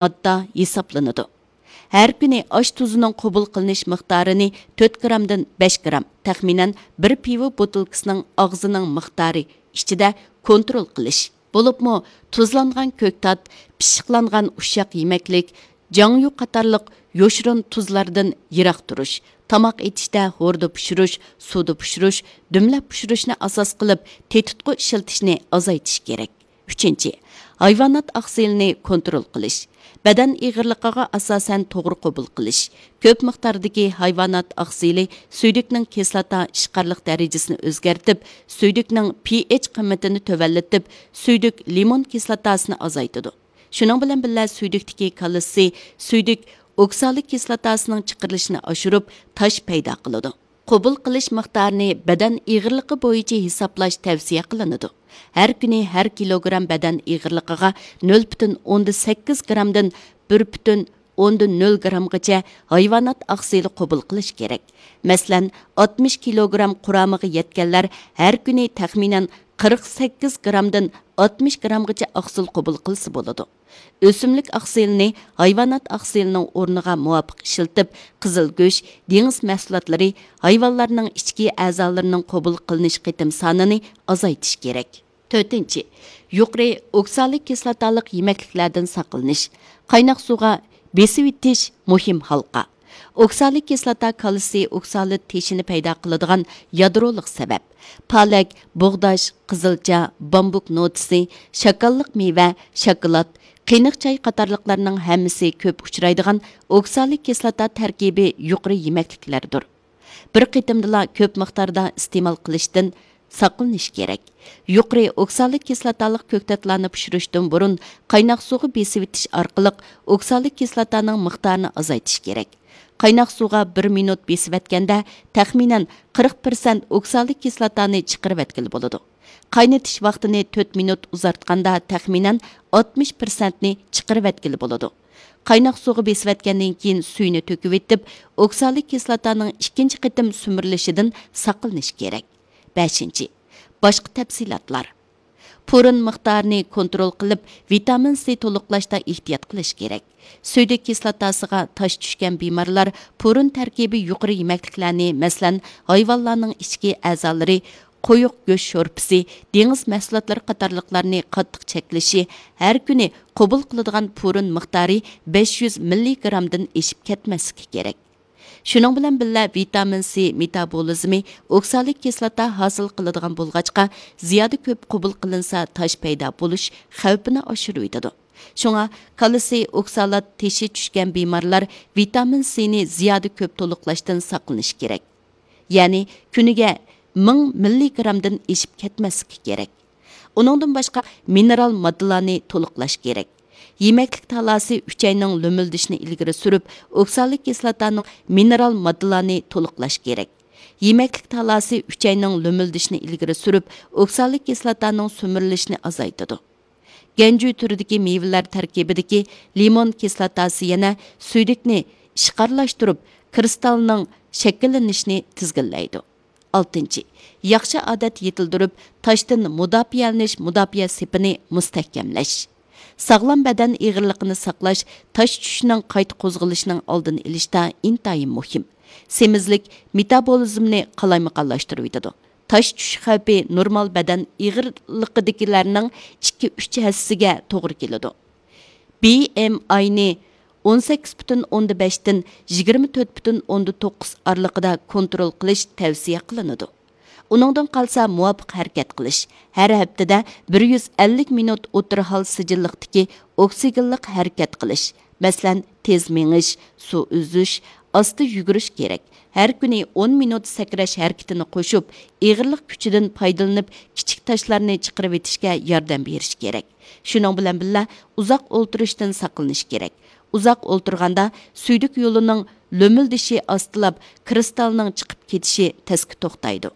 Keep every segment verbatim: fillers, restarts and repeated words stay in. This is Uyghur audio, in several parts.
ماددا ھېسابلىنىدۇ. ھەر كۈنى ئاش تۇزىنىڭ قوبۇل قىلىنىش مىقدارىنى تۆت گرامدىن بەش گرام، تەخمىنەن بىر پىۋا بوتۇلكىسىنىڭ ئاغزىنىڭ مىقدارى ئىچىدە كونترول قىلىش، بولۇپمۇ تۇزلانغان كۆكتات، پىششىقلانغان ئۇششاق يېمەكلىك، جاڭيۇ قاتارلىق يوشۇرۇن تۇزلاردىن يىراق تۇرۇش، تاماق ئېتىشتە ھوردا پىشۇرۇش، سۇدا پىشۇرۇش، دۈملەپ پىشۇرۇشنى ئاساس قىلىپ تېتىتقۇ ئىشلىتىشنى ئازايتىش كېرەك. ئۈچىنچى، ھايۋانات ئاقسىلىنى كونترول قىلىش. بەدەن ئېغىرلىقىغا ئاساسەن توغرا قوبۇل قىلىش. كۆپ مىقداردىكى ھايۋانات ئاقسىلى سۈيدۈكنىڭ كىسلاتا ئىشقارلىق دەرىجىسىنى ئۆزگەرتىپ، سۈيدۈكنىڭ پىئېچ قىممىتىنى تۆۋەنلىتىپ، سۈيدۈك لىمون كىسلاتاسىنى ئازايتىدۇ. شۇنىڭ بىلەن بىللە، سۈيدۈكتىكى كالتسىي سۈيدۈك ئوكسالات كىسلاتاسىنىڭ چىقىرىلىشىنى ئاشۇرۇپ، تاش پەيدا قىلىدۇ. قوبۇل قىلىش مىقدارىنى بەدەن ئېغىرلىقى بويىچە ھېسابلاش تەۋسىيە قىلىنىدۇ. ھەر كۈنى ھەر كىلوگرام بەدەن ئېغىرلىقىغا نۆل پۈتۈن ئوندىن سەككىز گرامدىن بىر پۈتۈن ئوندىن نۆل گرامغىچە ھايۋانات ئاقسىلى قوبۇل قىلىش كېرەك. مەسىلەن، ئاتمىش كىلوگرام قۇرامىغا يەتكەنلەر ھەر كۈنى تەخمىنەن قىرىق سەككىز گرامدىن ئاتمىش گرامغىچە ئاقسىل قوبۇل قىلسا بولىدۇ. ئۆسۈملۈك ئاقسىلىنى ھايۋانات ئاقسىلىنىڭ ئورنىغا مۇۋاپىق ئىشلىتىپ، قىزىل گۆش، دېڭىز مەھسۇلاتلىرى، ھايۋانلارنىڭ ئىچكى ئەزالىرىنىڭ قوبۇل قىلىنىش قېتىم سانىنى ئازايتىش كېرەك. تۆتىنچى، يۇقىرى ئوكسالات كىسلاتالىق يېمەكلىكلەردىن ساقلىنىش. قايناق سۇغا بېسىۋېتىش مۇھىم ھالقا. ئوكسالات كىسلاتا كالتسىي ئوكسالات تېشىنى پەيدا قىلىدىغان يادرولۇق سەۋەب. پالەك، بۇغداش، قىزىلچا، بامبۇك نوتىسى، شاكاللىق مېۋە، شاكىلات، قېنىق چاي قاتارلىقلارنىڭ ھەممىسى كۆپ ئۇچرايدىغان ئوكسالات كىسلاتا تەركىبى يۇقىرى يېمەكلىكلەردۇر. بىر قېتىمدىلا كۆپ مىقداردا ئىستېمال قىلىشتىن ساقلىنىش كېرەك. يۇقىرى ئوكسالات كىسلاتالىق كۆكتاتلارنى پىشۇرۇشتىن بۇرۇن قايناق سۇغا بېسىۋېتىش ئارقىلىق ئوكسالات كىسلاتانىڭ مىقدارىنى ئازايتىش كېرەك. قايناق سۇغا بىر مىنۇت بېسىۋەتكەندە، تەخمىنەن قىرىق پىرسەنت ئوكسالات كىسلاتانى چىقىرىۋەتكىلى بولىدۇ. قاينىتىش ۋاقتىنى تۆت مىنۇت ئۇزارتقاندا، تەخمىنەن ئاتمىش پىرسەنتنى چىقىرىۋەتكىلى بولىدۇ. قايناق سۇغا بېسىۋەتكەندىن كېيىن سۈيىنى تۆكۈۋېتىپ، ئوكسالات كىسلاتانىڭ ئىككىنچى قېتىم سۈمۈرۈلۈشىدىن ساقلىنىش كېرەك. بەشىنچى، باشقا تەپسىلاتلار. پۇرۇن مىقدارىنى كونترول قىلىپ، ۋىتامىن سى تولۇقلاشتا ئېھتىيات قىلىش كېرەك. سۈيدۈك كىسلاتاسىغا تاش چۈشكەن بىمارلار پۇرۇن تەركىبى يۇقىرى يېمەكلىكلەرنى، مەسىلەن، ھايۋانلارنىڭ ئىچكى ئەزالىرى، قويۇق گۆش شورپىسى، دېڭىز مەھسۇلاتلىرى قاتارلىقلارنى قاتتىق چەكلىشى، ھەر كۈنى قوبۇل قىلىدىغان پۇرۇن مىقدارى بەش يۈز مىللىگرامدىن ئېشىپ كەتمەسلىكى كېرەك. شۇنىڭ بىلەن بىللە، ۋىتامىن سى مېتابولىزمى ئوكسالات كىسلاتا ھاسىل قىلىدىغان بولغاچقا، زىيادە كۆپ قوبۇل قىلىنسا، تاش پەيدا بولۇش خەۋپىنى ئاشۇرۇۋېتىدۇ. شۇڭا كالتسىي ئوكسالات تېشى چۈشكەن بىمارلار ۋىتامىن سىنى زىيادە كۆپ تولۇقلاشتىن ساقلىنىشى كېرەك. يەنى كۈنىگە مىڭ مىللىگرامدىن ئېشىپ كەتمەسلىكى كېرەك. ئۇنىڭدىن باشقا مىنېرال ماددىلارنى تولۇقلاش كېرەك. يېمەكلىك تالاسى ئۈچەينىڭ لۆمۈلدىشىنى ئىلگىرى سۈرۈپ، ئوكسالات كىسلاتانىڭ مىنېرال ماددىلارنى تولۇقلاش كېرەك. يېمەكلىك تالاسى ئۈچەينىڭ لۆمۈلدىشىنى ئىلگىرى سۈرۈپ، ئوكسالات كىسلاتانىڭ سۈمۈرۈلۈشىنى ئازايتىدۇ. گەنجۈ تۈرىدىكى مېۋىلەر تەركىبىدىكى لىمون كىسلاتاسى يەنە سۈيدۈكنى ئىشقارلاشتۇرۇپ، كىرىستالنىڭ شەكىللىنىشىنى تىزگىنلەيدۇ. ئالتىنچى، ياخشى ئادەت يېتىلدۈرۈپ، تاشتىن مۇداپىئەلىنىش مۇداپىئە سېپىنى مۇستەھكەملەش. ساغلام بەدەن ئېغىرلىقىنى ساقلاش تاش چۈشۈشنىڭ قايتا قوزغىلىشىنىڭ ئالدىنى ئېلىشتا ئىنتايىن مۇھىم. سېمىزلىك مېتابولىزمنى قالايمىقانلاشتۇرۇۋېتىدۇ. تاش چۈشۈش خەۋپى نورمال بەدەن ئېغىرلىقىدىكىلەرنىڭ ئىككى، ئۈچ ھەسسىسىگە توغرا كېلىدۇ. بى ئېم ئاينى ئون سەككىز پۈتۈن ئوندىن بەشتىن يىگىرمە تۆت پۈتۈن ئوندىن توققۇز ئارىلىقىدا كونترول قىلىش تەۋسىيە قىلىنىدۇ. ئۇنىڭدىن قالسا، مۇۋاپىق ھەرىكەت قىلىش، ھەر ھەپتىدە بىر يۈز ئەللىك مىنۇت ئوتتۇرا ھال سىجىللىقتىكى ئوكسىگېنلىق ھەرىكەت قىلىش، مەسىلەن، تېز مېڭىش، سۇ ئۈزۈش، ئاستا يۈگۈرۈش كېرەك. ھەر كۈنى ئون مىنۇت سەكرەش ھەرىكىتىنى قوشۇپ، ئېغىرلىق كۈچىدىن پايدىلىنىپ، كىچىك تاشلارنى چىقىرىۋېتىشكە ياردەم بېرىش كېرەك. شۇنىڭ بىلەن بىللە، ئۇزاق ئولتۇرۇشتىن ساقلىنىش كېرەك. ئۇزاق ئولتۇرغاندا سۈيدۈك يولىنىڭ لۆمۈلدىشى ئاستىلاپ، كىرىستالنىڭ چىقىپ كېتىشى تەسكە توختايدۇ.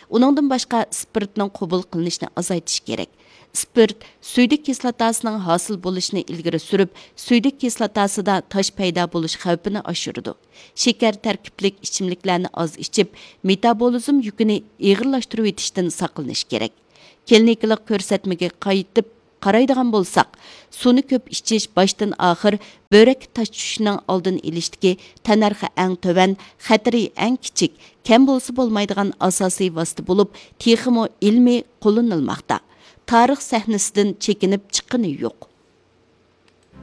ئۇنىڭدىن باشقا، ئىسپىرتنىڭ قوبۇل قىلىنىشىنى ئازايتىش كېرەك. ئىسپىرت سۈيدۈك كىسلاتاسىنىڭ ھاسىل بولۇشىنى ئىلگىرى سۈرۈپ، سۈيدۈك كىسلاتاسىدا تاش پەيدا بولۇش خەۋپىنى ئاشۇرىدۇ. شېكەر تەركىبلىك ئىچىملىكلەرنى ئاز ئىچىپ، مېتابولىزم يۈكىنى ئېغىرلاشتۇرۇۋېتىشتىن ساقلىنىش كېرەك. كلىنىكىلىق كۆرسەتمىگە قايتىپ، قارايدىغان بولساق، سۇنى كۆپ ئىچىش باشتىن ئاخىر بۆرەككە تاش چۈشۈشنىڭ ئالدىنى ئېلىشتىكى تەننەرخى ئەڭ تۆۋەن، خەتىرى ئەڭ كىچىك، كەم بولسا بولمايدىغان ئاساسىي ۋاسىتە بولۇپ، تېخىمۇ ئىلمىي قوللىنىلماقتا. تارىخ سەھنىسىدىن چېكىنىپ چىققىنى يوق.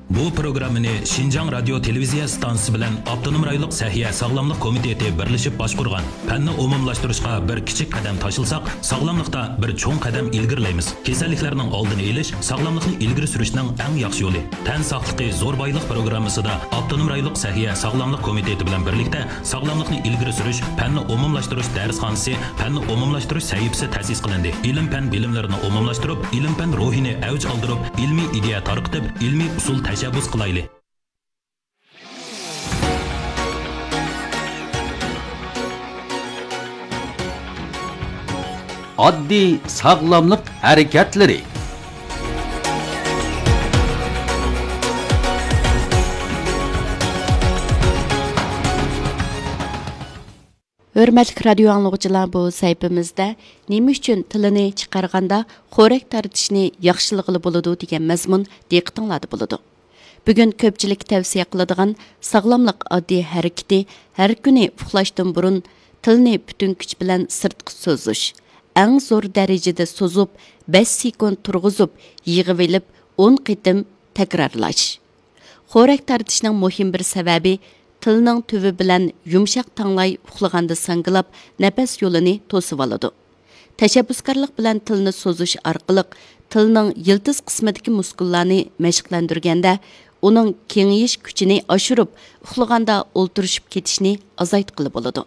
بۇ پروگراممىنى شىنجاڭ رادىيو تېلېۋىزىيە ئىستانسىسى بىلەن ئاپتونوم رايونلۇق سەھىيە ساغلاملىق كومىتېتى بىرلىشىپ باشقۇرغان. پەننى ئومۇملاشتۇرۇشقا بىر كىچىك قەدەم تاشلىساق، ساغلاملىقتا بىر چوڭ قەدەم ئىلگىرىلەيمىز. كېسەللىكلەرنىڭ ئالدىنى ئېلىش، ساغلاملىقنى ئىلگىرى سۈرۈشنىڭ ئەڭ ياخشى يولى. تەن ساقلىقى زور بايلىق پروگراممىسىدا ئاپتونوم رايونلۇق سەھىيە ساغلاملىق كومىتېتى بىلەن بىرلىكتە ساغلاملىقنى ئىلگىرى سۈرۈش، پەننى ئومۇملاشتۇرۇش دەرسخانىسى، پەننى ئومۇملاشتۇرۇش سەھىپىسى تەسىس قىلىندى. ئىلىم-پەن بىلىملىرىنى ئومۇملاشتۇرۇپ، ئىلىم-پەن روھىنى ئەۋج ئالدۇرۇپ، ئىلمىي ئىدىيە تارقىتىپ، ئىلمىي ئۇسۇل تەشەببۇس قىلايلى. ئاددىي ساغلاملىق ھەرىكەتلىرى. ھۆرمەتلىك رادىيو ئاڭلىغۇچىلار، بۇ سەھىپىمىزدە نېمە ئۈچۈن تىلىنى چىقارغاندا خورەك تارتىشنى ياخشىلىغىلى بولىدۇ دېگەن مەزمۇن دىققىتىڭلاردا بولىدۇ. بۈگۈن كۆپچىلىككە تەۋسىيە قىلىدىغان ساغلاملىق ئاددىي ھەرىكىتى ھەر كۈنى ئۇخلاشتىن بۇرۇن تىلنى پۈتۈن كۈچ بىلەن سىرتقا سوزۇش. ئەڭ زور دەرىجىدە سوزۇپ، بەش سېكۇنت تۇرغۇزۇپ، يىغىۋېلىپ، ئون قېتىم تەكرارلاش. خورەك تارتىشنىڭ مۇھىم بىر سەۋەبى، تىلنىڭ تۈۋى بىلەن يۇمشاق تاڭلاي ئۇخلىغاندا ساڭگىلاپ، نەپەس يولىنى توسۇۋالىدۇ. تەشەببۇسكارلىق بىلەن تىلنى سوزۇش ئارقىلىق تىلنىڭ يىلتىز قىسمىدىكى مۇسكۇللارنى مەشىقلەندۈرگەندە، ئۇنىڭ كېڭىيىش كۈچىنى ئاشۇرۇپ، ئۇخلىغاندا ئولتۇرۇشۇپ كېتىشنى ئازايتقىلى بولىدۇ.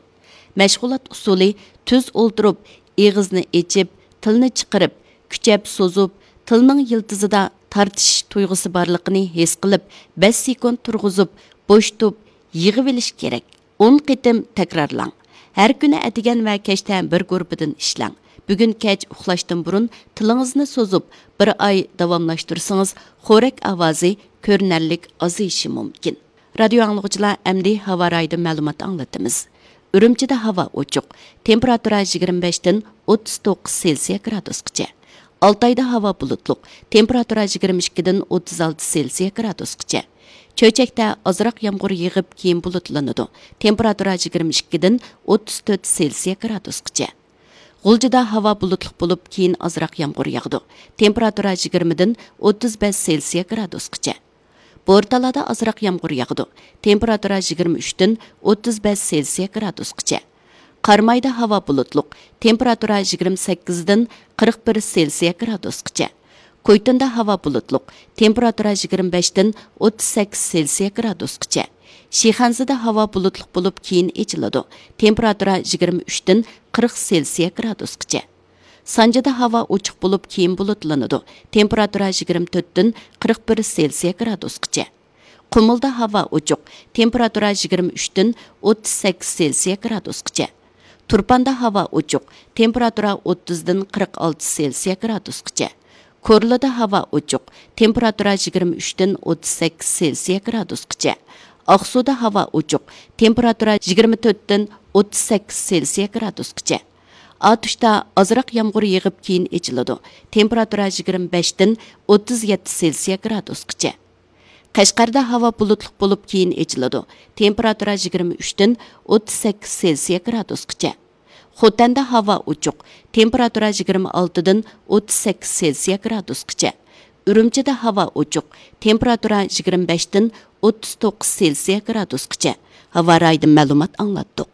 مەشغۇلات ئۇسۇلى: تۈز ئولتۇرۇپ، ئېغىزنى ئېچىپ، تىلنى چىقىرىپ، كۈچەپ سوزۇپ، تىلنىڭ يىلتىزىدا تارتىش تۇيغۇسى بارلىقىنى ھېس قىلىپ، بەش سېكۇنت تۇرغۇزۇپ، بوشىتىپ، يىغىۋېلىش كېرەك. ئون قېتىم تەكرارلاڭ. ھەر كۈنى ئەتىگەن ۋە كەچتە بىر گۇرۇپپىدىن ئىشلەڭ. بۈگۈن كەچ ئۇخلاشتىن بۇرۇن تىلىڭىزنى سوزۇپ، بىر ئاي داۋاملاشتۇرسىڭىز، خورەك ئاۋازى كۆرۈنەرلىك ئازىيىشى مۇمكىن. رادىيو ئاڭلىغۇچىلار، ئەمدى ھاۋا رايىدىن مەلۇمات ئاڭلىتىمىز. ئۈرۈمچىدە ھاۋا ئوچۇق، تېمپېراتۇرا يىگىرمە بەشتىن ئوتتۇز توققۇز سېلسىيە گرادۇسقىچە. ئالتايدا ھاۋا بۇلۇتلۇق، تېمپېراتۇرا يىگىرمە ئىككىدىن ئوتتۇز ئالتە سېلسىيە گرادۇسقىچە. چۆچەكتە ئازراق يامغۇر يېغىپ، كېيىن بۇلۇتلىنىدۇ، تېمپېراتۇرا يىگىرمە ئىككىدىن ئوتتۇز تۆت سېلسىيە گرادۇسقىچە. غۇلجىدا ھاۋا بۇلۇتلۇق بولۇپ، كېيىن ئازراق يامغۇر ياغىدۇ، تېمپېراتۇرا يىگىرمىدىن ئوتتۇز بەش سېلسىيە گرادۇسقىچە. بورتالادا ئازراق يامغۇر ياغىدۇ، تېمپېراتۇرا يىگىرمە ئۈچتىن ئوتتۇز بەش سېلسىيە گرادۇسقىچە. قارامايدا ھاۋا بۇلۇتلۇق، تېمپېراتۇرا يىگىرمە سەككىزدىن قىرىق بىر سېلسىيە گرادۇسقىچە. كويتۇندا ھاۋا بۇلۇتلۇق، تېمپېراتۇرا يىگىرمە بەشتىن ئوتتۇز سەككىز سېلسىيە گرادۇسقىچە. شىخەنزىدە ھاۋا بۇلۇتلۇق بولۇپ، كېيىن ئېچىلىدۇ، تېمپېراتۇرا يىگىرمە ئۈچتىن قىرىق سېلسىيە گرادۇسقىچە. سانجىدا ھاۋا ئوچۇق بولۇپ، كېيىن بۇلۇتلىنىدۇ، تېمپېراتۇرا يىگىرمە تۆتتىن قىرىق بىر سېلسىيە گرادۇسقىچە. قۇمۇلدا ھاۋا ئوچۇق، تېمپېراتۇرا يىگىرمە ئۈچتىن ئوتتۇز سەككىز سېلسىيە گرادۇسقىچە. تۇرپاندا ھاۋا ئوچۇق، تېمپېراتۇرا ئوتتۇزدىن قىرىق ئالتە سېلسىيە گرادۇسقىچە. كورلىدا ھاۋا ئوچۇق، تېمپېراتۇرا يىگىرمە ئۈچتىن ئوتتۇز سەككىز سېلسىيە گرادۇسقىچە. ئاقسۇدا ھاۋا ئوچۇق، تېمپېراتۇرا يىگىرمە تۆتتىن ئوتتۇز سەككىز سېلسىيە گرادۇسقىچە. ئاتۇشتا ئازراق يامغۇر يېغىپ، كېيىن ئېچىلىدۇ، تېمپېراتۇرا يىگىرمە بەشتىن ئوتتۇز يەتتە سېلسىيە گرادۇسقىچە. قەشقەردە ھاۋا بۇلۇتلۇق بولۇپ، كېيىن ئېچىلىدۇ، تېمپېراتۇرا يىگىرمە ئۈچتىن ئوتتۇز سەككىز سېلسىيە گرادۇسقىچە. خوتەندە ھاۋا ئوچۇق، تېمپېراتۇرا يىگىرمە ئالتىدىن ئوتتۇز سەككىز سېلسىيە گرادۇسقىچە. ئۈرۈمچىدە ھاۋا ئوچۇق، تېمپېراتۇرا يىگىرمە بەشتىن ئوتتۇز توققۇز سېلسىيە گرادۇسقىچە. ھاۋا رايىدىن مەلۇمات ئاڭلاتتۇق.